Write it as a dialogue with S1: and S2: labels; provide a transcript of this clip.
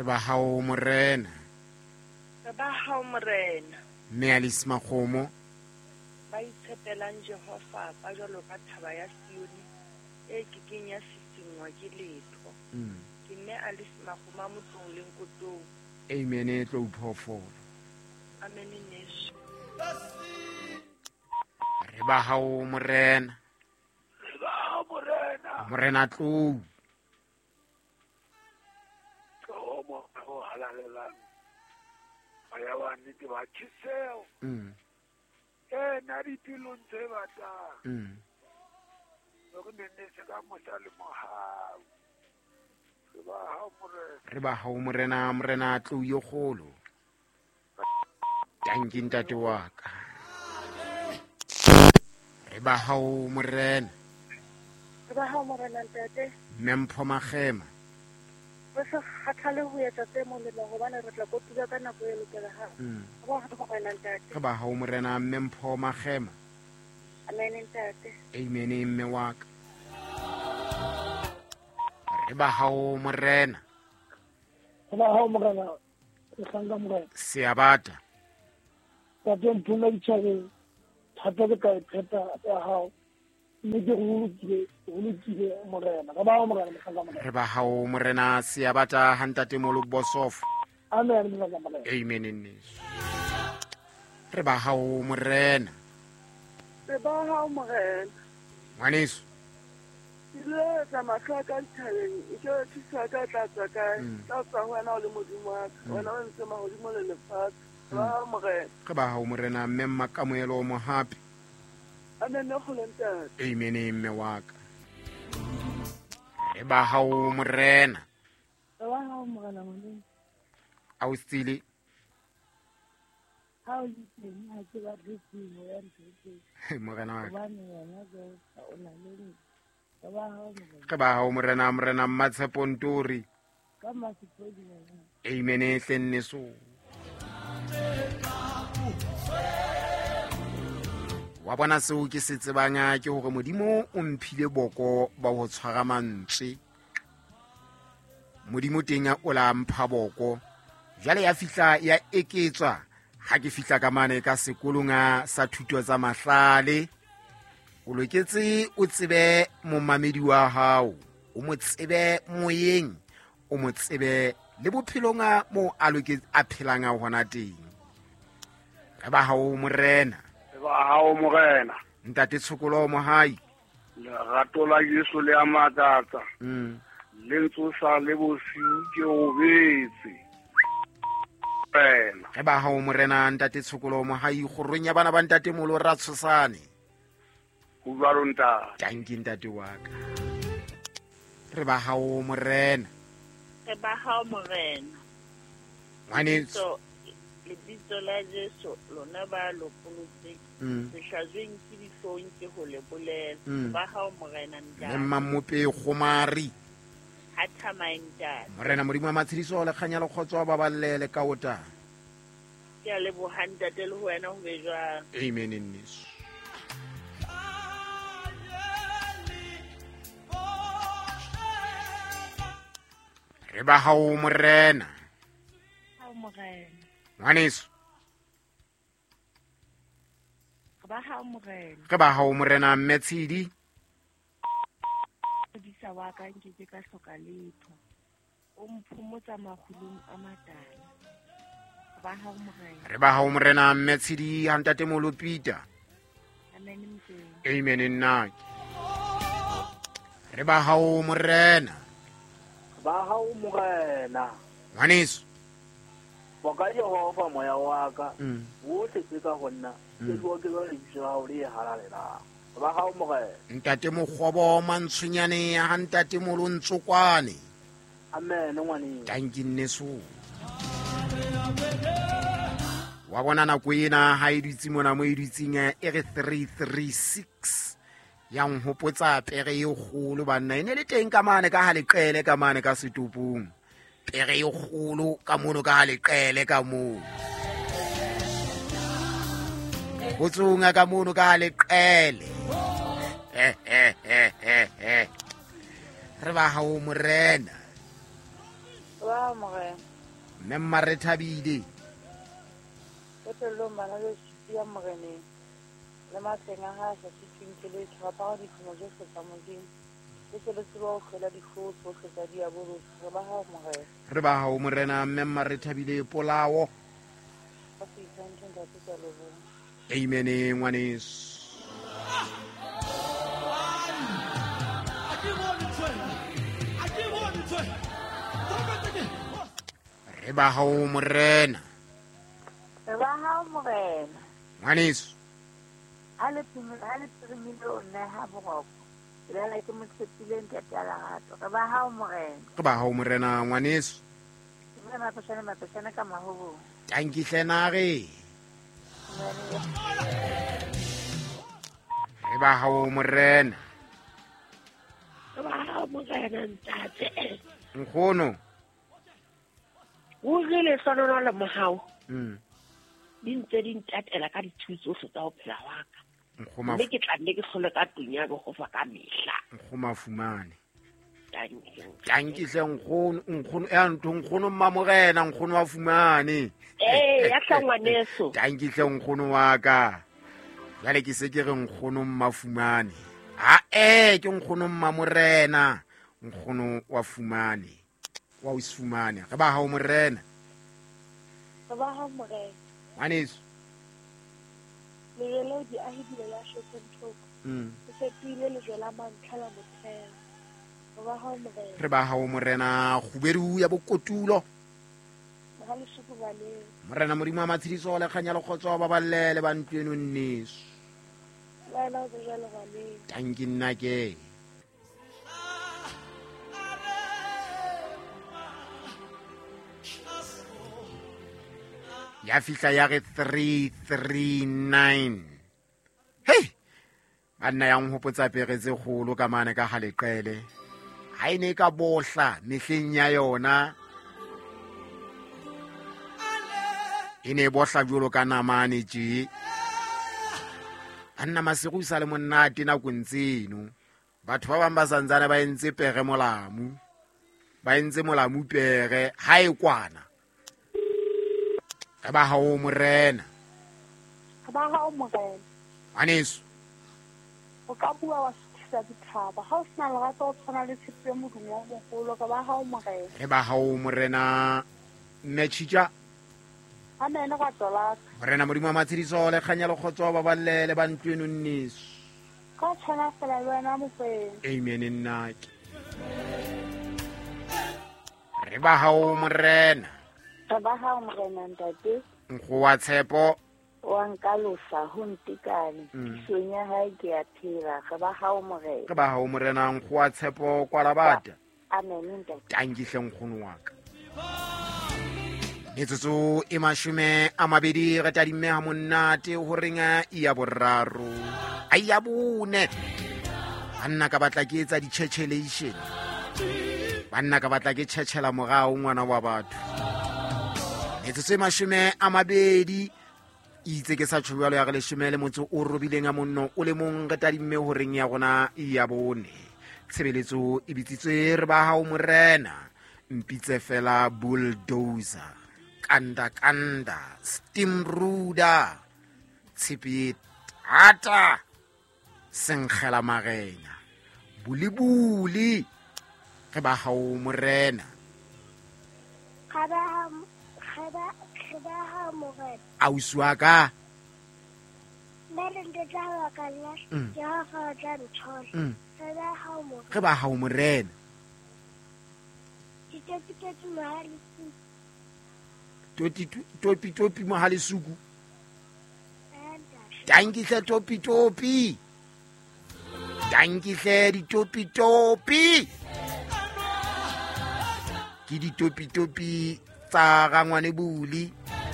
S1: Re ba hao morena.
S2: Re ba hao morena.
S1: Mme Alice Makgomo.
S2: Ba itshepelang Jehova ba jwalo ka thaba ya Sione e ke keng ya sisinngwa ke letho. Ke mme Alice Makgomo a Motlong le Nkotong.
S1: Amen e tlo phoofolo.
S2: Amen neso.
S1: Re ba hao morena.
S3: Re ba hao morena.
S1: Morena tlou.
S3: Tlou mo ho halalelang. Moya wa nnete wa tjheseho. Ena dipelong tse batlang. Hore ne ne se ka mosa le mohau. Re ba hao morena.
S1: Re ba hao morena, morena tlou yo kgolo. Tanki ntate wa ka. Re ba hao morena.
S2: Re ba hao morena ntate.
S1: Mme Mpho Makgema.
S2: Re se kgathale ho etsa tse molemo hobane re tla kotula ka nako e lokelang. Re ba hao morena ntate.
S1: Re ba hao morena mme Mpho Makgema.
S2: Amen ntate.
S1: Amen mme wa ka. Re ba hao morena.
S4: Re ba hao morena. Mohlanka morena.
S1: Seabata.
S4: Tate mphuma ditjhabeng. Thata ke ka e pheta ya hao. Mme ke go lokile morena. Re ba hao morena mohlanka morena.
S1: Re ba hao morena Seabata ha ntate Molo Bosofo.
S4: Amen mohlanka morena.
S1: Amen nneso. Re ba hao morena.
S2: Re ba hao morena.
S1: Ngwaneso.
S2: Ke letsa mahlo a ka dithabeng, ke re thuso ya ka e tla tswa kae? Tla tswa ho wena o le Modimo wa ka. Wena o entse mahodimo le lefatshe. Re ba hao morena.
S1: Re ba hao morena mme Mmakamoelo Mohapi.
S2: Amen kgolo ntate.
S1: Amen mme wa ka. Re ba hao morena.
S2: Re ba hao morena Modimo.
S1: Ausile.
S2: Ha o le teng ha ke batle tsebo ya ntho tse.
S1: Morena wa ka.
S2: Hobane wena Jehova o na le nna. Re ba hao morena.
S1: Re ba hao morena, morena Mmatshepo Ntori.
S2: Ka Mmasepodi wena.
S1: Amen hle nneso. Wa bona seo ke se tsebang ke hore Modimo o mphile boko ba ho tshwara mantswe. Modimo teng o la mpha boko. Jwale ya fihla ya eketswa ha ke fihla ka mane ka sekolong sa thuto tsa mahlale. O loketse o tsebe momamedi wa hao, o mo tsebe moyeng, o mo tsebe le bophelong mo a loketse a phelang a hona teng. Re ba hao morena.
S3: Re ba hao morena.
S1: Ntate Tshokolo Mohai.
S3: Lerato la Jesu le a makatsa. Le ntsosa le bosiu ke robetse. Morena.
S1: Re ba hao morena ntate Tshokolo Mohai, kgorong ya bana ba ntate Molo ra tshosane.
S3: Ho jwalo ntate.
S1: Tanki ntate wa ka. Re ba hao morena.
S2: Re ba hao morena.
S1: Ngwaneso.
S2: Lebitso la Jesu lona ba lopolotseng. Sehlajweng ke dihlong ke ho le bolela. Ba hao morena ntate.
S1: Le Mmamope Kgomari.
S2: Ha thamae ntate.
S1: Morena Modimo wa matshediso le kganya le kgotso ba ballele ka ota.
S2: Ke a leboha ntate le ho wena ho be jwang.
S1: Amen nneso. Re ba hao morena.
S2: Hao morena.
S1: Ngwaneso.
S2: Re ba hao morena.
S1: Re ba hao morena mme Tshidi.
S2: Modisa wa ka nke ke ka hloka letho. O mphomotsa makgulong a matala. Re ba hao morena.
S1: Re ba hao morena mme Tshidi ha ntate Molo Peter.
S2: Amen mteng.
S1: Amen nna. Re ba hao morena.
S5: Ba hao morena.
S1: Ngwaneso.
S5: Boka Jehova moya wa ka. Wohle tse ka ho nna. Ke bua ke ba lebitso la hao le halalelang. Ba hao morena.
S1: Ntate Mokgobo Mantshonyane ha ntate Molo Ntsokwane.
S5: Amen ngwaneso.
S1: Tanki nneso. Wa bona nako ena ha e dutse mona mo e dutseng e re 336. Ya nhopotsa pere e kgolo banna e ne le teng ka mane ka ha leqele ka mane ka setopong. Pere e kgolo ka mono ka ha leqele ka moo. Botsonga ka mono ka ha leqele. Re ba hao morena.
S2: Re Ba morena.
S1: Mme Mmarethabile.
S2: Qetellong bana beso ya moreneng. Le matleng a hae a sa sitweng ke letho, re apara dihlomo tsohle tsa Modimo, le tle le tsebe ho hlola dihloho tsohle tsa diabolosi. Re ba hao, Morena.
S1: Re ba hao, Morena. Mme Mmarethabile Polao.
S2: Ka seitshwantšho, Ntate, ke a leboha.
S1: Amen, ngwaneso. Re ba hao, Morena.
S2: Re ba hao, Morena.
S1: Ngwaneso.
S2: Ha le phirimile o nneha boroko. Ke lala ke mo tshepile Ntate a lerato. Re ba hao, Morena.
S1: Re ba hao, Morena, ngwaneso.
S2: Ke bua mapeshane mapeshane ka mahobong.
S1: Tanki hle nare. Re ba hao, Morena.
S6: Re ba hao, Morena, ntate.
S1: Nkgono.
S6: Ruri lehlohonolo le mohau di ntse di ntatela ka ditshiu tsohle tsa ho phela wa ka. Mme ke tla nne ke hlole ka tlung ya Jehova ka mehla.
S1: Nkgoma fumane. Tanki hle nkgono, nkgono ya ntho nkgono mmamorena, nkgono wa fumane.
S6: Ee, ya hla ngwaneso.
S1: Tanki hle nkgono wa ka. Jwale ke se ke re nkgono mmafumane. Ha ke nkgono mmamorena, nkgono wa fumane. Wa o fumane. Re ba hao morena.
S2: Re ba hao morena.
S1: Ngwaneso.
S2: Lejwe leo diahi di le lahletseng thoko. Le fetohile lejwe la mantlha la motheo. Re ba hao morena.
S1: Re ba hao morena, kgubedu ya bokotulo.
S2: Mohalesuku baneng.
S1: Morena Modimo wa matshediso le kganya le kgotso ba balle le ba ntlo eno nneso.
S2: Le wena o be jwalo baneng.
S1: Tanki nna ke. Ya fihla ya re 339. Hey! Banna ya nhopotsa pere tse kgolo ka mane ka haleqele. Ha e ne ka bohla mehleng ya yona. E ne e bohla jwalo ka namane tje. Banna masigo sa le monate nakong tseno. Batho ba bang ba santsane ba entse pere molamu. Ba entse molamu pere ha e kwana. Re ba hao morena.
S2: Re ba hao morena.
S1: Ngwaneso.
S2: O ka bua wa suthisa dithaba. Ha o sena lerato o tshwana le tshepe modumo o moholo. Re ba hao morena.
S1: Re ba hao morena. Mme Tjhitja.
S2: Amen, rato la ka.
S1: Morena Modimo wa matshediso le kganya le kgotso ba balle le ba ntlo eno nneso.
S2: Ka tshwana fela le wena mokwena.
S1: Amen nna ke. Re ba hao morena.
S2: Re ba hao morena ntate.
S1: Nkgo wa tshepo.
S2: Wa nkalosa ho ntekane. Tisong ya hae ke a phela. Re ba hao morena.
S1: Re ba hao morena nkgo wa tshepo kwa labata.
S2: Amen ntate.
S1: Tanki hle nkgono wa ka. Metsotso e 20 re tadimme ha monate ho reng ya boraro. A ya bone. Banna ka batla ke etsa di-chechelation. Banna ka batla ke tjhetjhela morao ngwana wa batho. Metsotso e 20 itse ke sa tjho jwalo ya re 18 robileng a monno o le mong re tadimme ho reng ya rona ya bone. Tshebeletso e bitsitswe re ba hao morena. Mpitse fela bulldozer, kanda kanda, steamroller, tshepe thata, senkgela marena, bulibuli, re ba hao morena.
S7: Re ba hao morena.
S1: Ausi wa ka.
S7: Nna le ntate wa ka nna, Jehova o tla nthola. Re ba hao morena.
S1: Re ba hao morena. Topi topi mohalesuku. Tanki hle topi topi. Tanki hle ditopi topi. Ke ditopi topi tsa rangwane buli.